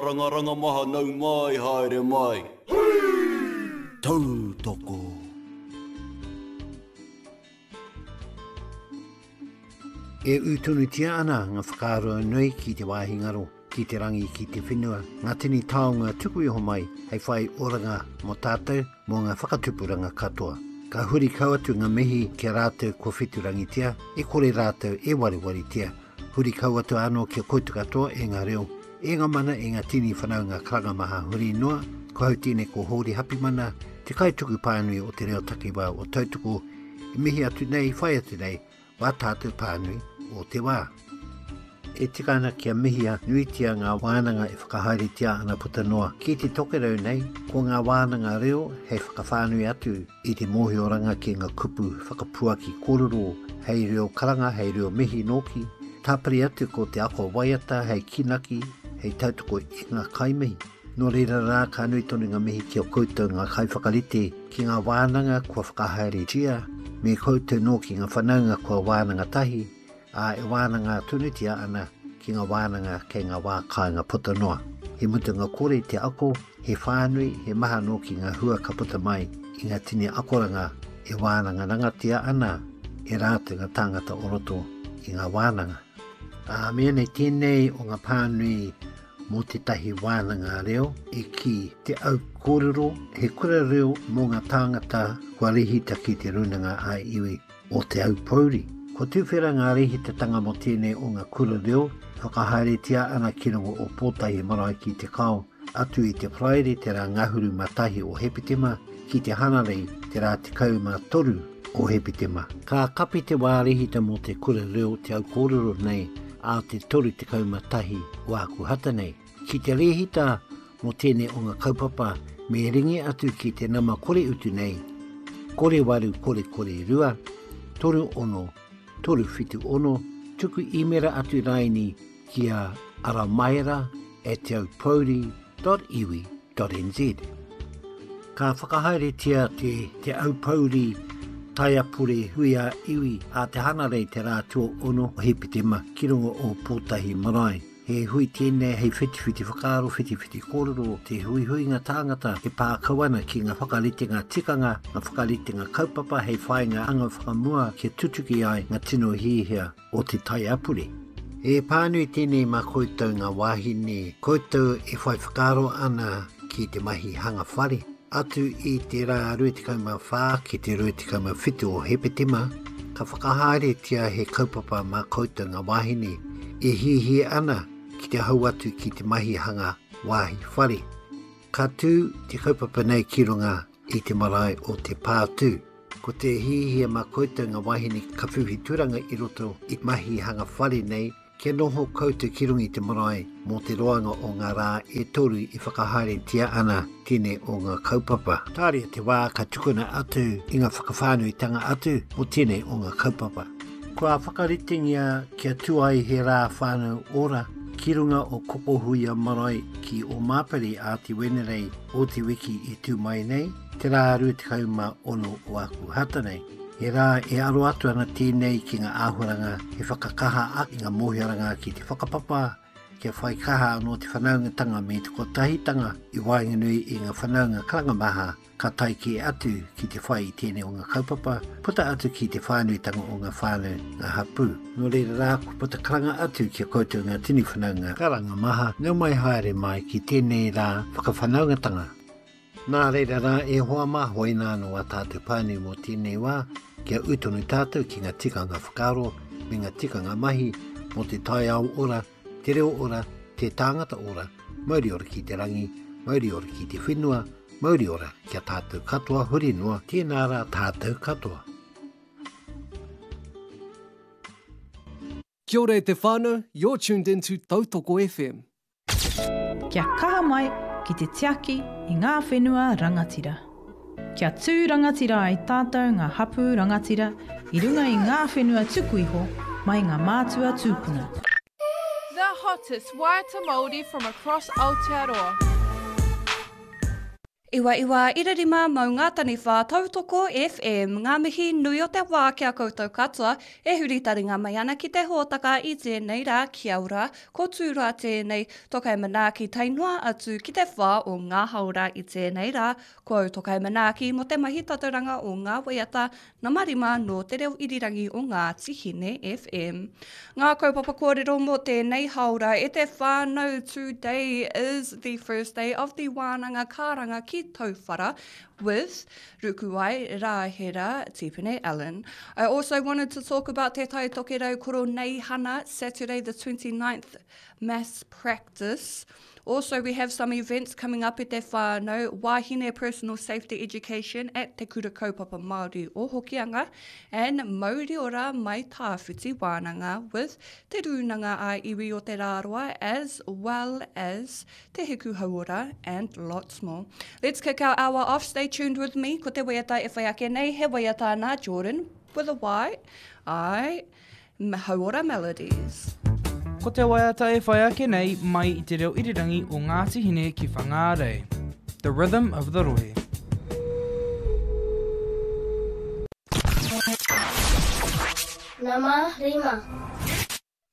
Rangaranga maha nau mai haere mai. Tautoko. E ū tonutia ana ngā whakaaro nui ki te wāhi ngaro, ki te rangi, ki te whenua, ngā tini taonga tuku iho mai hei whai oranga mō tātou, mō ngā whakatupuranga katoa. Ka huri kau atu ngā mihi ki a rātou kua wheturangitia, e kore rātou e warewaretia, Huri kau atu anō ki a koutou katoa e ngā reo, e ngā mana, e ngā tini whanaunga karanga maha huri noa, ko hau tēnei ko Hōri Hapimana, te kaituku pānui o te reo takiwā o Tautoko, i mihi atu nei, whai atu nei, wā tātou pānui o te wā. E tika ana kia mihia nuitia ngā wānanga e whakahaeretia ana puta noa ki te tokerau nei, ko ngā wānanga reo hei whakawhānui atu i te mōhioranga ki ngā kupu whakapuaki kōrero hei reo karanga, hei reo mihi nōki, tāpiri atu ko te ako waiata hei kīnaki, hei tautoko i ngā kaimihi. Nō reira rā, ka nui tonu ngā mihi ki a koutou ngā kaiwhakarite ki ngā wānanga kua whakahaeretia, me koutou nōki ngā whanaunga kua wānanga tahi, ā, e wānanga tonutia ana ki ngā wānanga kei ngā wā kāinga puta noa. He mutunga kore te ako, he whānui, he maha nōki ngā hua ka puta mai i ngā tini akoranga e wānangarangatia ana e rātou ngā tāngata o roto i ngā wānanga. Ā, me anei tēnei o ngā pānui mō tētahi wānanga reo i kī Te Au Kōrero, he kura reo mō ngā tāngata kua rehita ki Te Rūnanga ā-Iwi o Te Aupōuri. Kua tuwhera ngā rēhitatanga mō tēnei o ngā kura reo e whakahaeretia ana ki runga o Pōtae Marae ki Te Kao, atu i te Paraire te rā ngahuru mā tahi o Hepetema ki te Hanarei te rā 13 o Hepetema. Ka kapi te wā rehita mō te kura reo Te Au Kōrero nei ā te 31 o Ākuhata nei. Ki te rehita mō tēnei o ngā kaupapa me ringi atu ki te nama kore utu nei, kore waru kore kore rua, 36 376, tuku īmera atu raini ki a aramaera at teaupouri.iwi.nz. Ka whakahaeretia te Te Aupouri Taiapure Hui a Iwi a Te Hanarei te rā tuaono o Hepetema ki runga o Pōtahi Marae. He hui tēnei hei whitiwhiti whakaaro, whitiwhiti kōrero, te huihuinga tāngata e pā kau ana ki ngā whakaritenga tikanga, ngā whakaritenga kaupapa hei whāinga anga whakamua kia tutuki ai ngā tino hiahia o te taiapure. He pānui tēnei mā koutou ngā wāhine, koutou e whai whakaaro ana ki te mahi hanga whare. Atu i te rā 24 ki te 27 o Hepetema, ka whakahaeretia he kaupapa mā koutou ngā wāhine e hiahia ana ki te hau atu ki te mahi hanga wāhi whare. Ka tū te kaupapa nei ki runga i te marae o Te Pātū. Ko te hiahia mā koutou ngā wāhine ka whiwhi tūranga i roto i mahi hanga whare nei, Kia noho koutou ki runga i te marae mō te roanga o ngā rā e toru e whakahaeretia ana tēnei o ngā kaupapa. Tāria te wā ka tukuna atu i ngā whakawhānuitanga atu mō tēnei o ngā kaupapa. Kua whakaritengia kia tū ai he rā whānau ora ki runga o Kokohuia Marae ki Ōmāpere ā te Wenerei o te wiki e tū mai nei, te rā 26 o Ākuhata nei. He rā e aro atu ana tēnei ki ngā āhuaranga he whakakaha ake i ngā mōhioranga ki te whakapapa, kia whai kaha anō te whanaungatanga me te kotahitanga i waenganui i ngā whanaunga karanga maha ka tae kē atu ki te whai i tēnei o ngā kaupapa, puta atu ki te whānuitanga o ngā whānau, ngā hapū. Nō reira rā, kua puta karanga atu ki a koutou ngā tini whanaunga karanga maha, nau mai haere mai ki tēnei rā whakawhanaungatanga. Nā reira rā e hoa mā, hoina anō ā tātou pānui mō tēnei wā, kia ū tonu tātou ki ngā tikanga whakaaro me ngā tikanga mahi mō te taiao ora, te reo ora, te tāngata ora, mauri ora ki te rangi, mauri ora ki te whenua, mauri ora ki a tātou katoa huri noa, tēnā rā tātou katoa. Kia ora e te whānau, you're tuned in to Tautoko FM. Kia kaha mai ki te tiaki i ngā whenua rangatira. Kia tū rangatira ai tātou ngā hapū rangatira i runga i ngā whenua tuku iho mai ngā mātua tūpuna. The hottest waiata Māori from across Aotearoa. 99 5 Maunga Taniwha Tautoko FM Ngā mihi nui o te wā ki a koutou katoa e huri taringa mai ana ki te hōtaka i tēnei rā Kia ora, ko Tūroa tēnei, Tokai Manaaki tae noa atu ki te whā o ngā haora i tēnei rā Ko au Tokai Manaaki mō te mahi tatauranga o ngā waiata Nama 5 nō Te Reo Irirangi o Ngāti Hine FM. Ngā kaupapa kōrero mō tēnei haora e te whānau Today is the first day of the wānanga karanga ki Tauwhara with Rukuwai Rahera Tipene Allen. I also wanted to talk about Te Tai Tokerau Koroneihana, Saturday the 29th mass practice. Also, we have some events coming up at te whānau, Wāhine Personal Safety Education at Te Kura Kaupapa Māori o Hokianga, and Mauri Ora Mai Tāwhiti Wānanga with Te Rūnanga a Iwi o Te Rāroa as well as Te Hiku Hauora and lots more. Let's kick our hour off. Stay tuned with me. Ko te waiata e whai ake nei, he waiata nā Jordan with a Y. I. Hauora Melodies. Ko te waiata e whai ake nei mai i te reo irirangi o Ngāti Hine ki Whangārei. The Rhythm of the Rohe. Nama rima.